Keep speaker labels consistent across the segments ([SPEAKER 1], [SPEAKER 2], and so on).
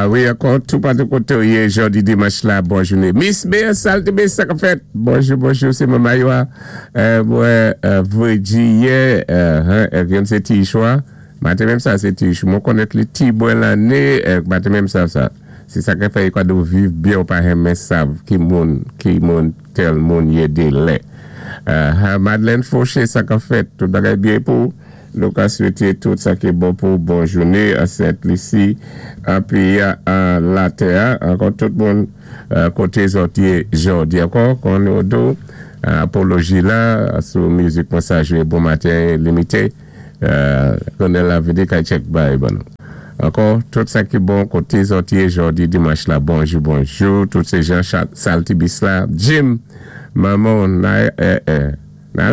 [SPEAKER 1] A wi, ankò, toupatou koté ou yé jòdi dimanch la, bon jouné. Miss Beer Saltibé, sa k fèt? Bonjou, bonjou, sé Mama Yoa. Mwen Virginie, youn sé ti chwa. Maten menm sa sé ti chou. Mwen konnèt li ti bwen lanné, maten menm sa sa. Sé sa ki fè yo ka di ou viv byen ou pa renmen sav ki moun, ki moun tèl moun yé de lè. Madeleine Fauché, sa k fèt? Tout bagay byen pou ou? Nou ka swété tout sa ki bon pou bon jouné an Sent Lisi, an péyi a, an latè a, ankò tout moun koté zòt yé jòdi ankò kon nou di w apoloji la sou mizik mwen sa jwé bon maten limité konnen la vini kay tchèk bay ban nou ankò tout sa ki bon koté zòt yé jòdi dimanch la bonjou bonjou tout sé Jean Saltibis la Jim manman w na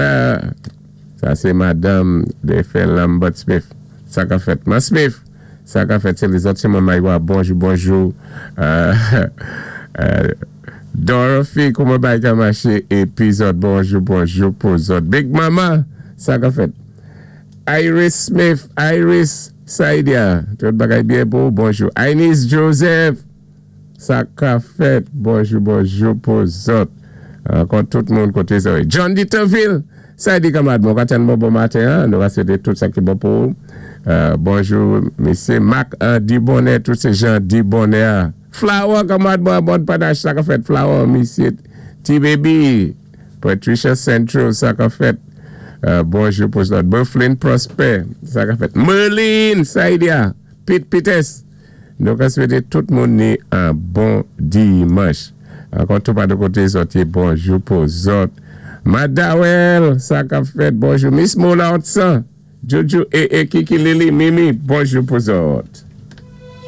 [SPEAKER 1] Sa se madanm defen Lambert Smith. Sa ka fèt? Man Smith! Sa ka fèt? Se lezòt se Manman Iwa. Bonjou, bonjou. Dorothy, kouman bagay ka mache? Epi zòt, bonjou, bonjou pou zòt. Big Mama! Sa ka fèt? Iris Smith, Iris Saidia, tout bagay byen pou ou? Bonjou. Inez Joseph! Sa ka fèt? Bonjou bonjou pou zòt. Ankò tout moun kote sa ye. John Deterville! Sa di kanmarad mwen, ou ka tann bon bon maten an. Nou va swete tout sa ki bon pou ou. Bonjou mesye Marc Andy Bonè, tout se Jean Di Bonè a. Flower kanmarad mwen an bòn panache sa ka fèt Flower misye Ti Baby Patricia Central sa ka fèt. Bonjou pou zòt. Berthlin Prosper sa ka fèt. Merline Saidia Pete Peters. Nou ka swete tout moun ni an bon dimanch. Ankò tou pa de kote zòt ye bonjou pou zòt. Madawèl sa kap fèt bonjou Miss Mona Otsan, Jojo ee Kiki Lili Mimi bonjou pou zòt.